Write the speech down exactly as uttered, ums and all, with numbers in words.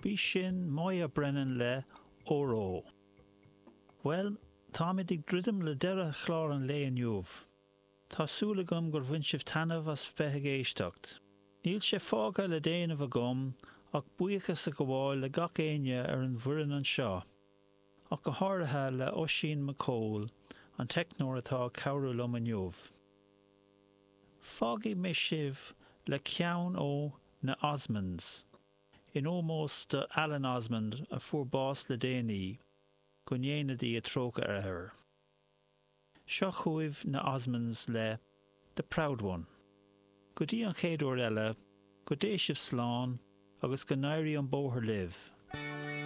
B'í sin Moya Brennan le Óró. Bhuel, táimid ag druidim le deireadh chlár an lae inniu. Tá súil agam gur bhain sibh taitneamh as bheith ag éisteacht. Níl sé fágtha le déanamh agam ach buíochas a ghabháil le gach éinne ar an bhfoireann anseo, ach go háirithe le Oisín McCole, an teicneoir atá ag cabhrú liom inniu. Fágfaidh mé sibh le ceann ó na Osmonds, in ómós do Alan Osmond a fuair bás le déanaí, go ndéana Dia trócaire air. Seo chugaibh na Osmonds le The Proud One. Go dtí an chéad uair eile, go dté sibh slán agus go n-éirí an bóthar libh.